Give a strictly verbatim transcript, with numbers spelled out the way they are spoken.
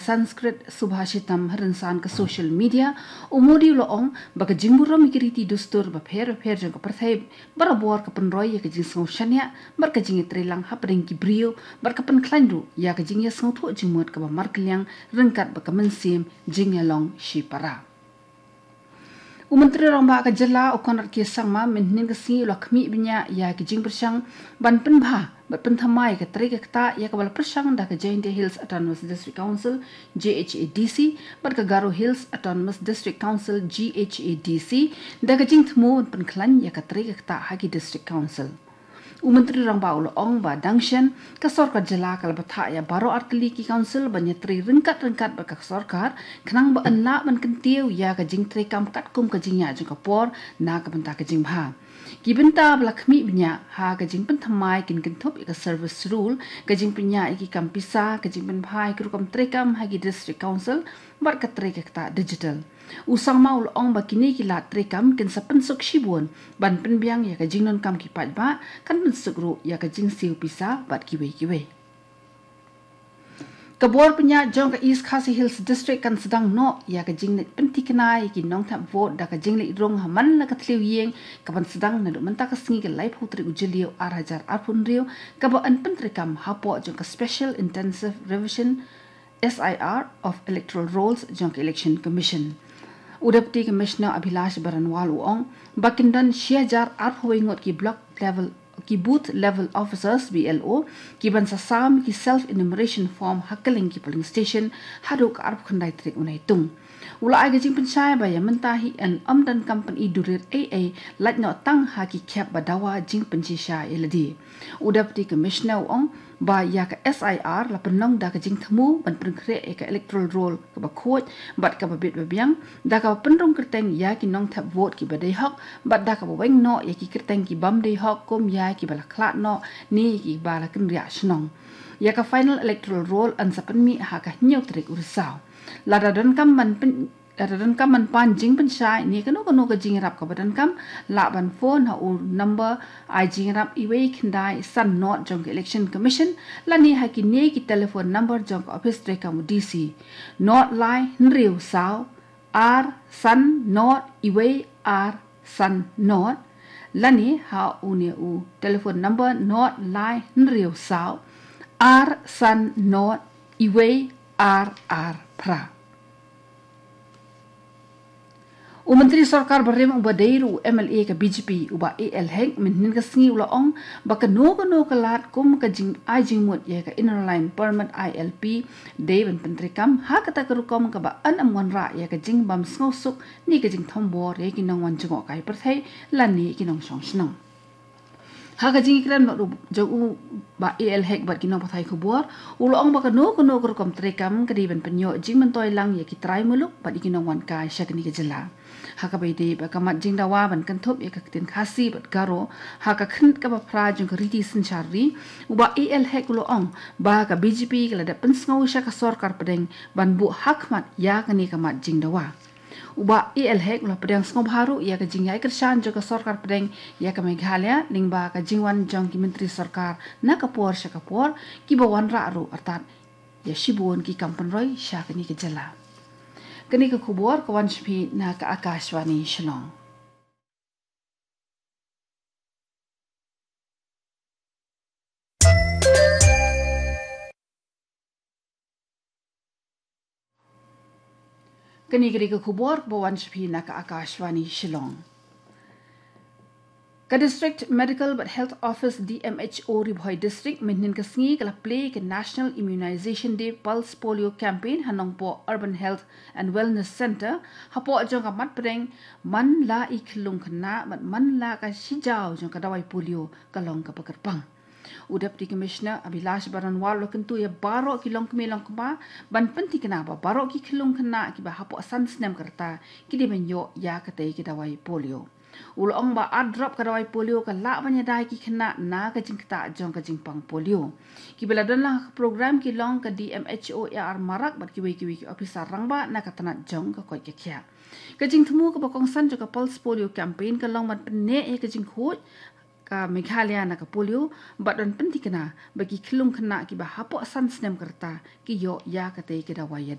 Sanskrit Subhashitam ha rynsan ka social media, u Modi u la ong ba ka jingburom ïa ki riti dustur bapher bapher jong ka pyrthei barabor ka pynroi ïa ka jingsngew shaniah bad ka jingïatreilang hapdeng ki briew bad ka pynkhlaiñ ruh ïa ka jingïasngewthuh jingmut kaba markylliang ryngkat bad ka mynsiem jingïalong shipara. U Myntri Rangbah ka jylla u Conrad K Sangma mynhynnin ka sngi u la khmih bniah ïa ki jingpyrshang ban pynbha bad pynthymmai ka trei ka ktah ïa kaba la pyrshang da ka Jaintia Hills Autonomous District Council, G H A D C, bad ka Garo Hills Autonomous District Council, G H A D C, da ka jingthmu ban pynkhlaiñ ïa ka trei ka ktah ha ki District Council. U Myntri Rangbah u la ong ba dang shen ka sorkar jylla ka la bthah ïa baroh artylli ki council ban ïatrei ryngkat ryngkat bad ka sorkar khnang ba yn lah ban kyntiew ïa ka jingtreikam katkum ka jingïaid jong ka por na ka bynta ka jingbha. Ki bynta ba la khmih bniah ha ka jingpynthymmai kin kynthup ïa ka service rule, ka jingpynïaid ïa ki kam pisa, ka jingpynbha ïa ki rukom treikam ha ki District Council bad ka trei ka ktah digital. U Sangma u la ong ba kine ki lad treikam kin sa pynsuk shibun ban pynbiang ïa ka jingdonkam ki paidbah, kan pynsuk ruh ïa ka jingsiew pisa bad kiwei kiwei. Ka bor pynïaid jong ka East Khasi Hills District kan sdang noh ïa ka jingleit pynthikna ïa ki nongthep vote da ka jingleit rung ha man la ka thliew ïing, kaban sdang naduh mynta ka sngi ka laiphew tarik u Jylliew ar hajar arphew hynriew, kaba yn pyntreikam hapoh jong ka Special Intensive Revision, S I R, of Electoral Rolls jong ka Election Commission. U Deputy Commissioner Abhilash Baranwal u ong ba kin don shi hajar arphew wei ngut ki block level, ki booth level officers, B L O, kiban sa sam ki self enumeration form ha kylleng ki polling station haduh ka arphew khyndai tarik u Naitung. U la ai ka jingpynshai ba ïa mynta hi yn ym donkam pyni duh rit ei ei, lait noh tang ha ki khep ba dawa jingpynshisha ïa lade. U Deputy Commissioner u ong ba ïa ka S I R la pynlong da ka jingthmu ban pynkhreh ïa ka electoral roll kaba khuid bad kaba bit ba biang, da kaba pynrung kyrteng ïa ki nongthep vote kiba dei hok bad da kaba weng noh ïa ki kyrteng ki bym dei hok kum ïa kiba la khlad noh ne kiba la kynriah shnong. Ïa ka final electoral roll yn sa pynmih ha ka hynñiew tarik u Risaw. Lada donkam ban pyn Lada donkam ban pan jingpynshai ne kano kano ka jingïarap kaba donkam, lah ban phone ha u number ai jingïarap iwei khyndai san nod jong ka Election Commission lane ha kine ki telephone number jong ka ophis treikam u D C, nod lai hynriew saw ar san nod iwei ar san nod, lane ha une u telephone number nod lai hynriew saw ar san nod iwei ar ar phra. U Myntri Sorkar Barim uba dei ruh u M L A ka B J P, u Bah A L Hek, mynhynnin ka sngi u la ong ba kano kano ka lad kum ka jingai jingmut ïa ka Inner Line Permit, I L P, dei ban pyntreikam ha kata ka rukom kaba yn ym wanrah ïa ka jingbymsngewsuk ne ka jingthombor ïa ki nongwan jngohkai pyrthei lane ki nongshong shnong. Ha ka jingïakren bad u jong u Bah A L Hek bad ki nongpathai khubor, u la ong ba kano kano ka rukom treikam ka dei ban pynïoh jingmyntoi lang ïa ki trai muluk bad ïa ki nongwan kai sha kane ka jylla. Ha kaba ïadei bad ka mat jingdawa ban kynthup ïa ka ktien Khasi bad Garo ha ka khyrnit kaba phra jong ka riti synshar ri, u Bah A L Hek u la ong ba ka B J P ka la dep pynsngew sha ka sorkar pdeng ban buh hakhmat ïa kane ka mat jingdawa. U Bah A L Hek u la pdiang sngewbha ruh ïa ka jingïai kyrshan jong ka sorkar pdeng ïa ka Meghalaya lyngba ka jingwan jong ki myntri sorkar na ka por sha ka por kiba wanrah ruh artat ïa shibun ki kam pynroi sha kane ka jylla. Kane ka khubor ka wan sha phi na ka Akashvani Shillong. Kane ka dei ka khubor ba wan sha phi na ka Akashvani Shillong. Ka District Medical bad Health Office, D M H O, Ri Bhoi District mynhynnin ka sngi ka la plie ka National Immunization Day Pulse Polio Campaign ha Nongpoh Urban Health and Wellness Centre, hapoh jong ka mat pdeng man la i khyllung khynnah bad man la ka shijaw jong ka dawai polio ka long kaba kyrpang. U Deputy Commissioner Abhilash Baranwal u la kyntu ïa baroh ki longkmie longkpa ban pynthikna ba baroh ki khyllung khynnah kiba hapoh san snem ka rta ki dei ban ïoh ïa katei ka dawai polio. U la ong ba ar drop ka dawai polio ka lah ban ïada ïa ki khynnah na ka jingktah jong ka jingpang polio. Kiba la don lang ha ka program ki long ka D M H O A R Marak bad kiwei kiwei ki ophisar rangbah na ka tnat jong ka koit ka khiah. Ka jingthmu kaba kongsan jong ka Pulse Polio Campaign ka long ban pynneh ïa ka jingkhuid ka Meghalaya na ka polio, bad yn pynthikna ba ki khyllung khynnah kiba hapoh san snem ka rta ki ïoh ïa katei ka dawai ïa